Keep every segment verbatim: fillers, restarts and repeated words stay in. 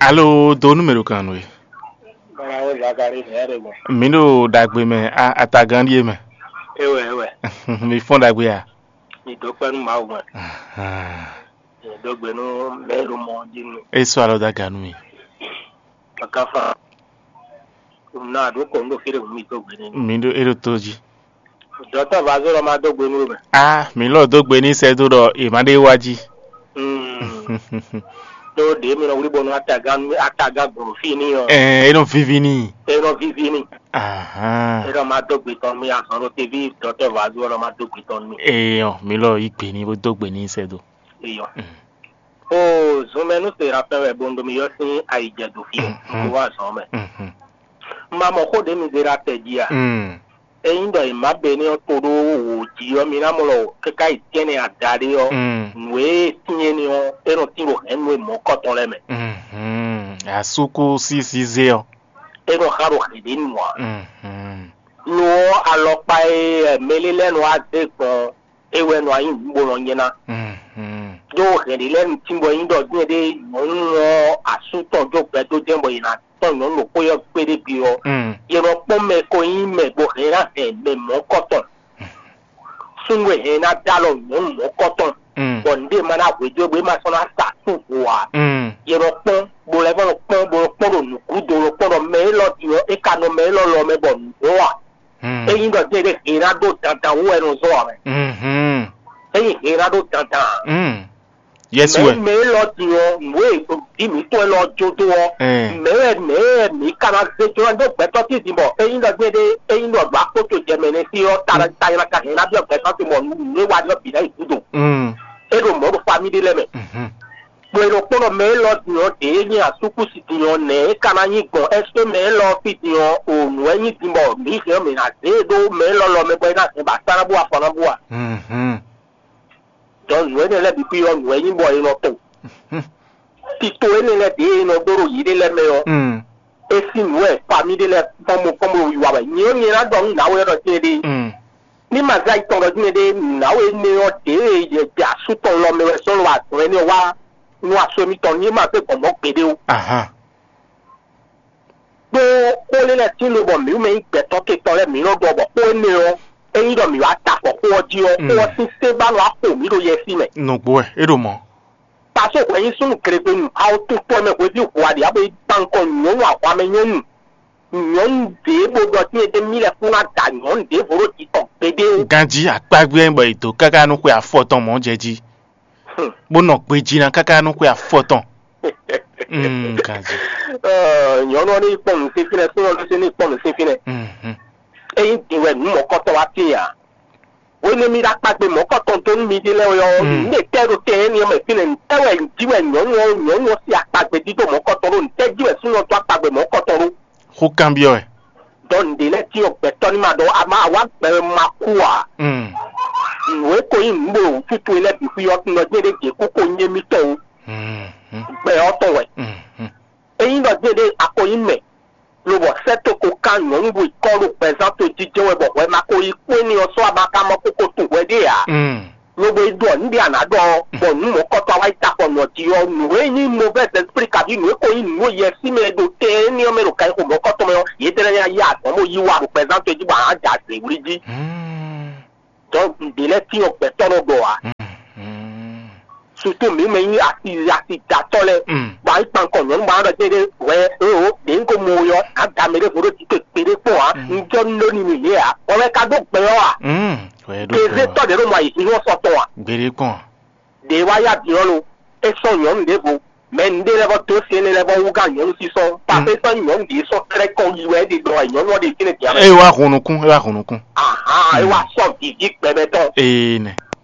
Alo, do nú mɛ ɖo kan nú we. Balawo Zakari hɛn ɖe gbɔn. Mi ɖo ɖagbe mɛ, a- atagán ɖíe mɛ. Ewɛ ewɛ. Mi fɔn ɖagbe a? Mi dó kpɛ nú Mawu mɛ. Ahan. Mi dó gbe nú mɛ ɖo mɔ jí nú. E sɔ alɔ da ga nú mi. Kaka fa. Na ɖo kɔ nú fí ɖe mi dó gbe nú. Mi ɖo e ɖo to jí. Dɔtɔ va zɔ lɔ ma dó gbe nú mɛ. A mi lɔ dó gbe ní sɛ dó ɖɔ è má ɖe wá jí. Hmm. Ɖó ɖě mi nɔ wlí bɔ nú atagán atagán gbɔn fí ní ɔ. Ɛ e nɔ vivi ní. E nɔ vivi ní. Ahan. E nɔ ma dó gbe tɔn mi azɔn ɖo teví dɔtɔ va zɔ lɔ ma dó gbe tɔn mi. Eyɔ mi lɔ yi gbe ní bó dó gbe ní sɛ dó. Eyɔ. Mm. O zunmɛ nú se rapɛ wɛ bo nɔ mi yɔ sín ayijɛ do fi Mhm. Bo wá zɔn mɛ. Mhm. Ma mɔ xó ɖě mi zé ɖo atɛ jí a? Mm. Ényí ɖɔ è má be ní ɔ́ to ɖó wǒ jí ɔ́, mi ná mɔ ɖɔ káká yi tɛ́nnɛ adaɖé ɔ́, Mm. Nǔ e tín é ní ɔ́, é nɔ tín ɖo hɛ̌nnu e mɔ̌kɔtɔn lɛ́ɛ mɛ. Mhm. Asúkú sísí zé ɔ́. É nɔ xa ɖo hɛ̌ ɖé nu ǎ. Mhm. Lo ɔ́, alɔkpa e mɛlé lɛ́ɛ nɔ wá zé gbɔn é wɛ nɔ wá nyí nǔ bó nɔ nyɛ ná. Mhm. Ɖó hɛ̌ ɖé lɛ́ɛ nu tín bɔ é nyí ɖɔ dín ɖé nyɔ̌nu ɔ́ asú tɔn jó gbɛdó jɛ́n bɔ è nǎ tɔn nyɔ̌nu ɖokpó ɔ́ kpéɖé gbe ɔ́, Mm. Yě nɔ kpɔ́n mɛ ko nyí mɛ bɔ hɛn ná hɛn mɛ mɔ̌kɔtɔn. Súnnu e hɛn ná dó alɔ nyɔ̌nu mɔ̌kɔtɔn, Mm. Bɔ nǔɖé ma ná hwedó bó é ma sɔ́ ná sa súnvo ǎ. Mm. Yě nɔ kpɔ́n, bó lɛ́ vɔ nɔ kpɔ́n, bó nɔ kpɔ́n ɖo nǔgúdo, nɔ kpɔ́n ɖɔ mɛ élɔ́ din ɔ́, é ka nɔ mɛ élɔ́ lɔ mɛ bɔ nǔ dó a? Mm. Ényí ɖɔ dín ɖé hɛn ná ɖó dandan wú wɛ nɔ zɔ́ ǎ mɛ. Mhm. Ényí hɛn ná ɖó dandan ǎ. Mm. Yɛsu wɛ. Mɛ mɛ élɔ́ din ɔ́, nǔ e ɖi mǐtɔn élɔ́ jó dó ɔ́, Ɛɛ. Mɛ wɛ mɛ wɛ mǐ ka ná zé jlɔ́ dó gbɛtɔ́ tíntín bɔ ényí ɖɔ gbé ɖé, ényí ɖɔ ɖo akpótó jɛ mɛ nɛ́ sí ɔ́, ta ta ylá ka hɛn ná byɔ́ gbɛtɔ́ tɔn bɔ nǔ e wa ɖɔ bǐ ná yi gúdo. Mm. É ɖo mɔ̌ ɖo famí ɖé lɛ́ɛ mɛ. Mhm. Bɔ è nɔ kpɔ́n ɖɔ mɛ élɔ́ din ɔ́, ɖě é nyí asúkúsi din ɔ́, nɛ̌ é ka ná nyí gbɔn? Ɛ́sé mɛ élɔ́ ɔ́ fí din ɔ́, o nǔ wɛ nyí din bɔ mǐ hɛn ɔ́, mǐ ná zé e ɖó mɛ élɔ́ lɔ mɛ bɔ é ná hɛn ba sá ná bú afɔ ná bú a? Mhm. Dɔn nǔ énɛ́ lɛ́ɛ bǐ xwí ɔ́, nǔ wɛ nyí bɔ è nɔ to. Tito énɛ́ lɛ́ɛ ɖě e nɔ ɖó ɖo yěɖée lɛ́ɛ mɛ ɔ́, Mm. É sín nǔ wɛ famí ɖé lɛ́ɛ kpɔ́n mo kpɔ́n mo wiwa wɛ. Nyɛ ɔ́, nyɛ ná ɖɔ nú nǎwe ɔ́ ɖɔ céɖée. Mm. Ní ma zé ayi tɔn ɖɔ dín ɖé nǎwe énɛ́ ɔ́ ɖě e yɛ jɛ asú tɔn lɔ mɛ wɛ sɔ́ lɔ azɔ̌ énɛ́ ɔ́ wá nú asú émítɔn ní é ma zé gbɔn mɔ̌ gbeɖé ó. Ahan. Ɖó xó lé lɛ́ɛ tín lobɔ mǐ mɛ nyí gbɛtɔ́ ke tɔn lɛ́ɛ mǐ nɔ ɖɔ bɔ xó énɛ́ ɔ́, ényí ɖɔ mǐ wá ta afɔ xó ɔ́ jí ɔ́, xó ɔ́ sín sɛ́n ba nɔ wá xo mǐ ɖo yɛsí mɛ. Nǔgbó wɛ é ɖo mɔ̌. Pasó hwɛ nyí súnnu glegbenu, awo tun tɔn mɛ hweví hu aɖě abo yi kpan nukɔn nyɔ̌nu ahwamɛ nyɔ̌nu. Nyɔ̌nu ɖě bó ɖɔ tín é ɖé mí lɛ́ kún ná da nyɔ̌nu ɖěvo ɖó jǐ tɔn gbeɖé ó. Ganjí akpágbé bɔ è dǒ káká nú xwe afɔ tɔn mɔ̌ jɛ jí, Hmm. Bó nɔ gbejí ná káká nú xwe afɔ tɔn. Mm, ganjí. Ɔ, nyɔ̌nu ɔ́ ní kpɔ́n nǔ sín fínɛ́, súnnu ɔ́ ní kpɔ́n nǔ sín fínɛ́. Mhm. Ényí din wɛ nǔ mɔ̌kɔtɔn wá tíin ǎ. Hwenu e mi ɖo akpagbe mɔ̌kɔtɔn dó nú miɖée lɛ́ɛ ɔ́, Mm. Nǔɖé tɛ́ ɖo tɛn énɛ́ mɛ fínɛ́? Ntɛ́ wɛ jí wɛ nyɔ̌nu ɔ́, nyɔ̌nu ɔ́ sín akpagbe dídó mɔ̌kɔtɔn ɖó? Ntɛ́ jí wɛ súnnu ɔ́ dó akpagbe mɔ̌kɔtɔn ɖó? Xó kanbyɔ́ wɛ. Dɔn nǔɖé lɛ́ɛ cyɔ́n gbɛtɔ́ ní ma ɖɔ a ma wá gbɛ ma kú ǎ. Mm. Nǔ e ko nyí nǔ ɖo wǔtútú e lɛ́ɛ bǐ xwí ɔ́, un nɔ jɛ́n ɖé jě kú ko nyí émítɔn ó. Mm. Gbɛ ɔ́ tɔn wɛ. Mm. Ényí ɖɔ jɛ́n ɖé a ko nyí mɛ, lobɔ sɛ́ to ko kán nyɔ̌nu ɖo kɔ́ ɖo gbɛzán to jijɛ wɛ bɔ hwɛ ma ko yi kpó énɛ́ ɔ́ sɔ́ a ma ka mɔ kókó tunwun hwɛ ɖé ǎ. Mm. Lobo yi ɖɔ nǔɖé a nǎ ɖɔ ɔ́, bɔ nǔ mɔ̌kɔtɔn a wá yi ta kɔ nɔ jí ɔ́, nǔ e nyí mɔvɛ́ zɛ́spli kabí nǔ e ko nyí nǔ e yɛ sí mɛ ɖo tɛn énɛ́ ɔ́ mɛ ɖo kan xo mɔ̌kɔtɔn mɛ ɔ́, yě tlɛ nya yá azɔ̌ bó yí wa ɖo gbɛzán to jí bɔ a nǎ da zě wlí jí. Mm. Dɔn nǔɖé lɛ́ɛ cyɔ́n gbɛtɔ́ nɔ ɖɔ ǎ. Mm. Sutu mǐ mɛ nyí asi asi datɔ́ lɛ́ɛ, Mm. bɔ a yi kpan kɔ nyɔ̌nu bɔ a nɔ ɖɔ jɛ́n ɖé hwɛ éwo ɖě un ko mɔ we ɔ́, a da mɛ ɖěvo ɖó jǐ kpekpe ɖé kpɔ́n ǎ. Mm. Un jɔ nú ɖó n'i lě ǎ. Bɔ wɛ ka ɖó gbɛ ɔ́ a? Mm. Wɛ ɖó Kéze gbɛ. Tɔ́ ɖě ɖo mɔ ayǐjínjɔ́n sɔ tɔn a? Gbeɖé kpɔn. Ɖě wá yá din ɔ́ lo, é sɔ́ nyɔ̌nu ɖěvo, mɛ nǔɖé lɛ́ɛ vɔ dó se énɛ́ lɛ́ɛ vɔ wú gán nyɔ̌nu sísɔ́. Pafé sɔ́ nyɔ̌nu ɖě sɔ́ tlɛ́ kɔn yi wɛ é ɖe ɖɔ wɛ nyɔ̌nu ɔ́ ɖe fínɛ́ din ǎ mɛ. É wá hun nukún, é wá hun nukún. Ahan, é wá sɔ́ vǐví gbɛmɛ tɔn. Ee nɛ.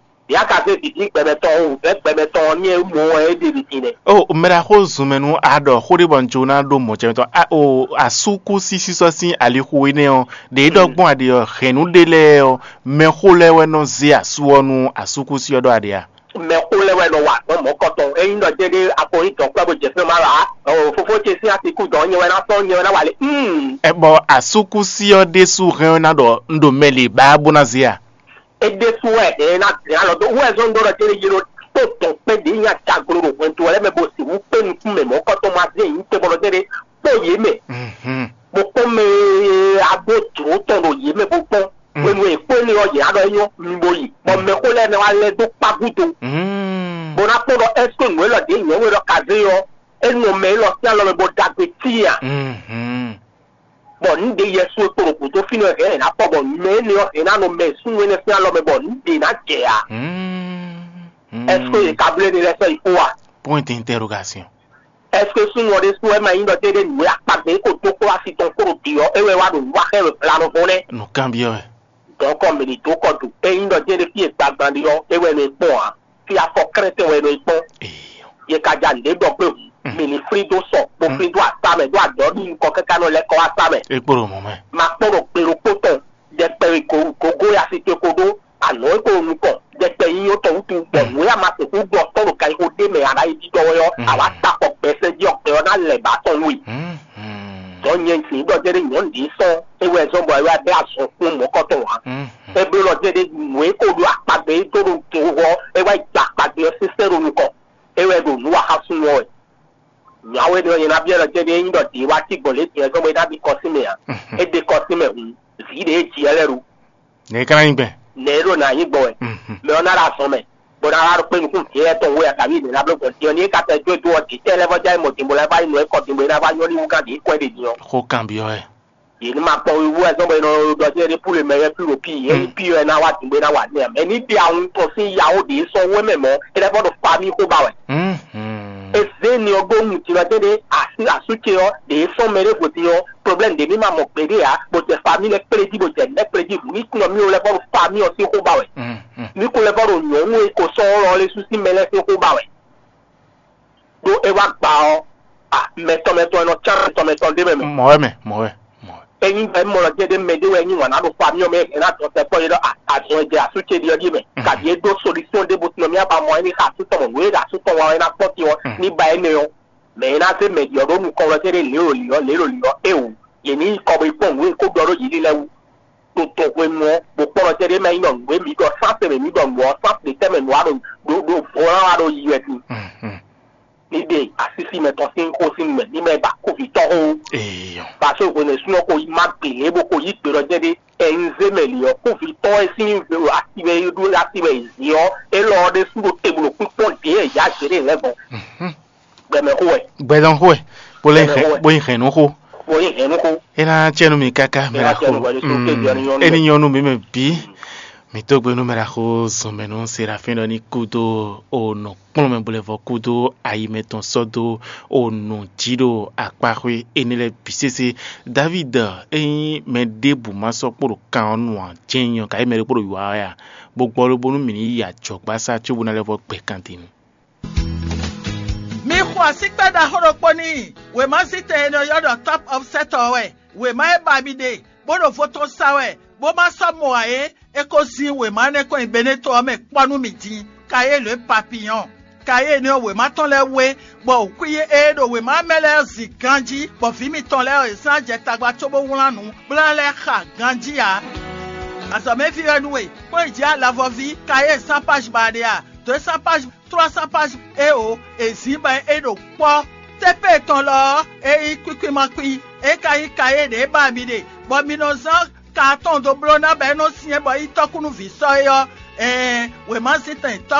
Bia ka zé vǐví gbɛmɛ tɔn o, vɛ̌ gbɛmɛ tɔn ɔ́ ní e mɔ wɛ é ɖe ɖi din nɛ. O mɛɖaxó zunmɛ nú a ɖɔ xó ɖé bɔ un jló ná ɖó mɔ̌ ce mɛ tɔn. A o asúkúsi sísɔ́ sín alixo énɛ́ ɔ́, ɖě ɖɔ gbɔn a ɖe ɔ́, hɛ̌nnu ɖé lɛ́ɛ ɔ́, mɛxó lɛ́ɛ wɛ nɔ zé asú ɔ́ nú asúkúsi ɔ́ ɖɔ a ɖe a? Mɛxó lɛ́ɛ wɛ nɔ wa azɔ̌ mɔ̌kɔtɔn. Ényí ɖɔ jɛ́n ɖé a ko nyí dɔ̌nkpɛ́ bó jɛ fínɛ́ má ɖɔ ǎ, o fofó ce sín asi kú dɔ̌n nyɛ wɛ ná sɔ́ nyɛ wɛ ná wa lě. Mm. Ɛ bɔ asúkúsi ɔ́ ɖésú hɛn ɔ́ ná ɖɔ un ɖo mɛ lě bá bó ná zé a? É ɖésú wɛ hɛn ná zɛn alɔ dó wɛ zɔn dó ɖɔ jɛ́n yi ɖo kpó dɔ̌nkpɛ́ ɖě nyi adaglo ɖo hwɛndo lɛ́ɛ mɛ bó sixú kpé nukún mɛ mɔ̌kɔtɔn ma zé nyǐ te bɔ nɔ zé ɖé kpó yě mɛ, bó kpɔ́n mɛ e a ɖó jlǒ tɔn ɖo yě mɛ bó kpɔ́n hwenu e è kpó énɛ́ ɔ́, yě ná ɖɔ é nyɔ́, mi bo yi, bɔ mɛxó lɛ́ɛ nɔ wá lɛ́ dó kpá gúdo, bó ná kpɔ́n ɖɔ ɛ́seke nǔ élɔ́ ɖě nyɔ̌nu élɔ́ ka zé ɔ́, é nɔ mɛ élɔ́ sín alɔ mɛ bó ɖagbe tíin a? Bɔ nǔ ɖě Yɛsu e kpo ɖo gǔdo fínɛ́ ɔ́ hɛn ɛ ná kpɔ bɔ mɛ énɛ́ ɔ́ hɛn ná nɔ mɛ súnnu énɛ́ sín alɔ mɛ bɔ nǔ ɖě ná jɛ ǎ. Ɛseke yě ka bló énɛ́ lɛ́ɛ sɔ́ yi xó a? Point d'interrogation. Ɛseke súnnu ɔ́ ɖésú wɛ ma nyí ɖɔ tɛ́ ɖé nǔ e akpagbe e ko dó kplɔ́ asi tɔn kpó ɖo bǐ ɔ́, é wɛ wá ɖo nǔ wa xá ɛ ɖo glanɔvɔn nɛ́? Nǔ kanbyɔ́ wɛ. Dɔ̌nkɔ mǐ ní dó kɔ do. Ényí ɖɔ jɛ́n ɖé fí e gbagban ɖe ɔ́, é wɛ nɔ e kpɔ́n ǎ. Fí afɔ krɛ́tɛn wɛ nɔ e kpɔ́n. Yě ka ja nǔɖé ɖɔ gbé hǔn, mǐ ní flín dó sɔ, bó flín dó asá mɛ, ɖó adɔ̌ ɖi nukɔn káká nɔ lɛ́ kɔ wá asá mɛ. É kpo ɖo mɔ̌ mɛ. Ma kpɔ́n ɖo gbe ɖokpó tɔn, ɖɛkpɛ e gǒ gǒ e asi ce ko ɖó, anɔ̌ e ko ɖo nukɔn, ɖɛkpɛ nyínyɔ́ tɔn wútu, bɔ nǔ e a ma sixú ɖɔ tɔn ɖo ganxixo ɖé mɛ a ná yi ɖiɖɔ wɛ ɔ́, a wǎ ta kɔ gbɛsɛ́ jí ɔ́, gbɛ ɔ́ ná lɛ bǎ tɔn nú we. Dɔ̌ nyɛ jǐ ɖɔ jɛ́n ɖé nyɔ̌nu ɖě sɔ́ é wɛ zɔ́n bɔ é wá bɛ́ azɔn kún mɔ̌kɔtɔn ǎ. É bló ɖɔ jɛ́n ɖé nǔ e ko ɖó akpagbe e dó ɖo do ɔ́, é wá yi gba akpagbe ɔ́ sésé ɖo nukɔn. É wɛ ɖo nǔ wa xá súnnu ɔ́ wɛ. Nyɔ̌nu énɛ́ ɔ́, nyɛ ná byɔ́ ɖɔ jɛ́n ɖé ényí ɖɔ dě wá cí gbɔn lě din ɛ zɔ́n bɔ é ná ɖi kɔ sín mɛ ǎ. É ɖe kɔ sín mɛ hǔn, vǐ ɖě e ji ɛ lɛ́ɛ ɖo. Nɛ̌ é ka ná nyí gbɛn? Nɛ̌ é ɖo nǎ nyí gbɔn wɛ? Mɛ ɔ́ ná ɖo azɔn mɛ, bó ná wá ɖo kpé nukún vǐ éyɛ́ tɔn wú wɛ a kaví nɛ̌ ná bló gbɔn din ɔ́, ní é ka tɛ dó é dó ɔ́, dǐtɛ́ lɛ́ɛ vɔ́ já yi mɔ din bó lɛ́ vá yi nɔ é kɔ din bó é ná vá nyɔ́ ní wú gán ɖě kɔ́ ɖě din ɔ́. Xó kanbyɔ́ wɛ. Yě ní ma kpɔ́n wíwú wɛ zɔ́n bɔ è nɔ ɖɔ jɛ́n ɖé pú le mɛ wɛ pí ɖo pí, é nyí pí wɛ ná wá dǐn bó é ná wa nɛ́ ǎ. Mɛ ní ɖi awun tɔn sín ya ó ɖě sɔ́ wɛ mɛ mɔ̌, é lɛ́ vɔ́ ɖo famí xó ba wɛ. É zé ni ɔ́ ɖó nu din ɔ́ jɛ́n ɖé así asú ce ɔ́ ɖě sɔ́ mɛ ɖé hwe din ɔ́, problème ɖě mì ma mɔ gbeɖé ǎ, bó jɛ famí lɛ́ kplé jí, bó jɛ nɛ́ kplé jí hǔn ní kun ɔ́ mì lɛ́ vɔ́ ɖo famí ɔ́ sín xó ba wɛ. Ní kun lɛ́ vɔ́ ɖo nyɔ̌nu e ko sɔ́ ɔ́ lɔ lɛ́ɛ sú sín mɛ lɛ́ɛ sín xó ba wɛ. Ɖó é wá gba ɔ́, a mɛtɔn mɛtɔn e nɔ cán mɛtɔn mɛtɔn ɖé mɛ mɛ. Mɔ̌ wɛ mɛ, mɔ̌ wɛ, mɔ̌ wɛ. Ényí bɔ é mɔ lɔ jɛ ɖé mɛ ɖé wɛ nyí wǎn ná ɖo xo amyɔ mɛ é ná dɔn tɛkpɔ yé ɖɔ azɔn e jɛ asú ce ɖi ɔ́ ɖíe mɛ. Kabi é ɖó solúsyɔn ɖé bó tunɔ mì aba mɔ é ní xa asú tɔn mɔ nǔ e ɖo asú tɔn wa ɔ́ é ná kpɔ́n din ɔ́ ní ba énɛ́ ɔ́, mɛ e ná zé mɛ ɖi ɔ́ ɖó nukɔn wɛ jɛ ɖé lě ɖo lǐ ɔ́, lě ɖo lǐ ɔ́, éwǔ, yě ní yi kɔ bo yi kpɔ́n nǔ e kó ɖɔ ɖó yě lílɛ́ wú. Ɖo dɔn hwenu ɔ́, bó kpɔ́n lɔ jɛ ɖé mɛ nyí ɖɔ nǔ e mǐ ɖɔ sán tɛnmɛ mǐ ɖɔ nǔ ɔ́, sán ɖě tɛnmɛ nǔ wa ɖo ɖo ɖo vɔ̌lán wa ɖo yi wɛ din. Ní ɖe asísí mɛtɔn sín xó sín nu mɛ, ní mɛ ba kóvitɔ́ xó. Eyɔ. Parce que hwenu e súnɔ ko má gbe lě bó ko yí gbe ɖɔ jɛ ɖé, ɛnzé mɛ lě ɔ́, kóvitɔ́ e sín asi wɛ é ɖó asi wɛ è zě ɔ́, élɔ́ ɔ́ ɖésú ɖo te bó ɖo kpínkpɔ́n ɖě e yǎ zě ɖe lɛ́ gbɔn. Gbɛmɛ xó wɛ. Gbɛdɔn xó wɛ. Bó lɛ Gbɛmɛ xó wɛ. Bó nyi hɛn nú xó. Bó nyi hɛn nú xó. É ná cɛ nú mi káká mɛ Ena ɖaxó. Cɛ nú wɛ ɖésú ké jɔ ní nyɔ́ nú Eni mɛ. Nyɔ́ nú mi mɛ bǐ. Mi tó gbe nú mɛ ɖaxó zɔnmɛ nú Serafin ɖɔ ní kú dó o nɔ kplɔ́n mɛ bo lɛ́ vɔ kú dó ayi mɛtɔn sɔ́ dó o nɔ jí ɖo akpaxwé énɛ́ lɛ́ɛ bǐ sésé. Davíd é nyí mɛ ɖěbǔ ma sɔ́ kpo ɖo kan ɔ́ nu ǎ, jɛ́n nyí ɔ́, kayi mɛ ɖé kpo ɖo wǐwá wɛ a? Bó gbɔ ló bónú mǐ ní yi ajɔ̌gbasá cóbó ná lɛ́ vɔ gbɛ kan din nu. Mi xo asíkpɛ́ ɖaxó ɖokpó n'i, wěmazítɛn e è nɔ ylɔ́ ɖɔ Top of Set ɔ́ wɛ. Wěma e ba mi ɖe, bó ɖo vo tɔn sa wɛ, bó ma sɔ́ mɔ ǎ é, é ko zín wěma énɛ́ kɔn nyi Beneto ɔ́ mɛ kpɔ́ nú mi din, Kayélu e Papiyɔ́n. Kayélu ɔ́, wěma tɔn lɛ́ɛ wú é, bɔ wǔkwín e ɖo wěma mɛ lɛ́ɛ zin ganjí, bɔ vǐ mitɔn lɛ́ɛ ɔ́, è zán jɛ tagba cóbó wlán nǔ, bó ná lɛ́ xa ganjí ǎ. Azɔ̌mɛví wɛ nú we, kpɔ́n yi jǐ alavɔví, Kayélu sán páj ba ɖe a? Dǒ e sán páj Tlɔ́ sán páj é o, è zǐn bɔ é ɖo kpɔ́. Tépée tɔn lɔ ɔ́, é nyí kwíkwín ma kwín, é ka nyí ka e ɖě ba mi ɖe, bɔ mi nɔ zán ka atɔn dó bló ná bɔ é nɔ syɛ́n bɔ é nyí tɔ́kúnúví sɔ́ é ɔ́, ɛɛn, wěmazíntɛn Top